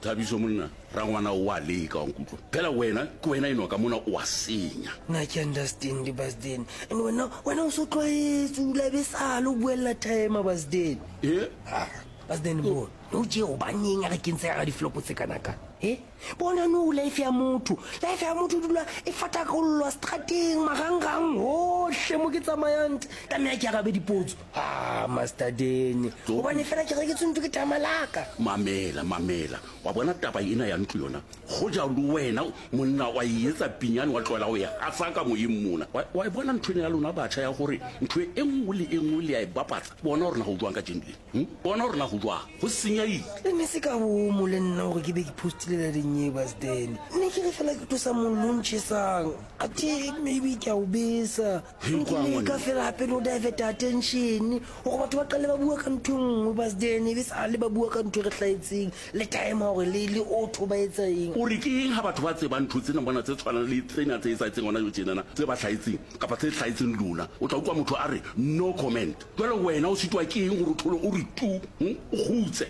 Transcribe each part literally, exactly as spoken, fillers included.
Thabiso monna, rangwana o a leka wa nkutlwa. Phela wena ke wena enwa ka mona o a senya. Nna ke understand Basden. And wena wena o so tlwaetse o dula be sale o buella timer Basden. E? Basden bona. No tje hobaneng a re kentse ka diflopo tse kana kana. Eh? Bona no life ya motho. Life ya motho dula e fatakollwa strateng marangrang hohle mo ke tsamayang. Tlameha ke arabe dipotso. Ah, Master Den. Hobane fela ke reketswe ntho ke tamalaka. Mamela, mamela. Wa bona taba ena ya ntlo yona. Hoja le wena monna wa e etsa pinyane wa tlohela ho e hasa ka moyeng mona. Wa wa e bona ntho ena ya lona batjha ya hore ntho e nngwe le e nngwe le ya e bapatsa. Bona hore na ho jwang ka jeno le. Hm? Bona hore na ho jwang. Ho senyehile. Le ne se ka bomo le nna hore ke be ke postile la dinye Basden. Ne ke re fela ke tlosa mollo o ntjhesang. Athe maybe ke a o besa. He, Nke kwa leka ngwana. fela hape le ho divert attention hore batho ba qale ba bua ka ntho e nngwe Basden, e be sale ba bua ka ntho e re hlahetseng le time hore le le auto ba etsa eng. O re ke eng ha batho ba tsebang ntho tsena bona tse tshwanang le tsena tse etsahetseng hona jwale tjenana, tse ba hlahetseng kapa tse hlahetseng lona, o tla utlwa motho a re no comment. Jwale wena o sitwa ke eng hore o thole o re tu, hm? O kgutse,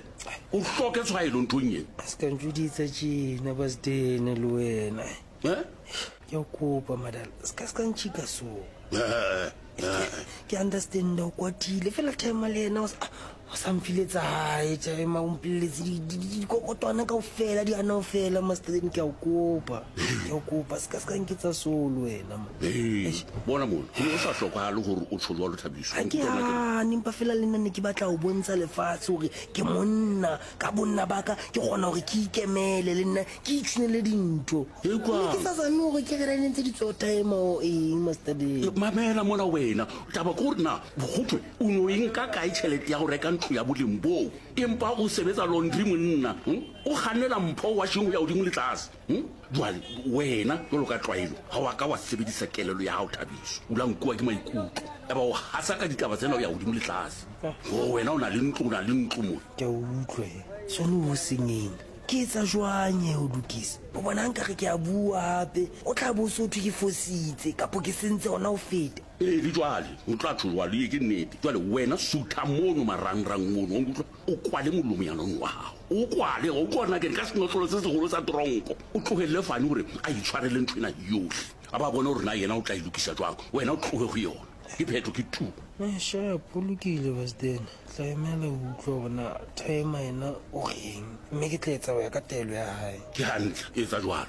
o hloke tshwaelo nthong ena. Se ka ntjoditsa tjena Basden le wena. Eh? Ke a o kopa madala, se ka se ka ntjhika so. Eh, eh. Ke understand o kwatile fela time le yena o sa o sa mfile tsa hae time o mpolelletse di- di- di- dikokotwana kaofela di hana ho fela Master Den, ke a o kopa. Ke a o kopa se ka se ka nketsa so le wena man. Ee, bona mona, ho ne ho sa hlokahale hore o tjho jwalo Thabiso. Ha ke hane, empa fela le nna ne ke batla ho bontsha lefatshe hore ke monna. Ka bonna ba ka ke kgona hore ke ikemele le nna ke itshunele dintho. E kwang? Ne ke sa zame hore ke re ne ntse di tswa time o eng Master Den. Mamela mona wena, taba ke hore na ho thwe o no e nka kae tjhelete ya ho reka ntlo ya boleng boo, empa o sebetsa laundry monna, hm? O kgannela mpho washing ho ya hodimo le tlase, hm? Jwale wena jwalo ka tlwaelo ha wa ka wa sebedisa kelello ya hao Thabiso, o la nkuwa ke maikutlo, eba o hasa ka ditaba tsena ho ya hodimo le tlase. O wena o na le ntlo, o na le ntlo mona. Ke a utlwa he. Sone ho senyeng. Ke etsa jwang e ho lokisa? O bona nkare ke a bua hape, o tla bo so thwe ke fositse kapo ke sentse hona ho feta. Ee, le jwale, o tla tjho jwale, ee, ke nnete. Jwale wena sutha mono marangrang mono, wa nkutlwa? O kwale molomo ya nong wa hao. O kwale, o utlwa hore na ke ka senotlolo se seholo sa tronko. O tlohelle Fani hore a itshwarele ntho ena yohle. A ba bone hore na yena o tla e lokisa jwang. Wena o tlohe ho yona. Ke phetho ke tu. Eh, sharp, o lokile Basden. Tla emela ho utlwa hore na timer yena o reng. Mme ke tla etsa ho ya ka taelo ya hae. Ke hantle, etsa jwalo.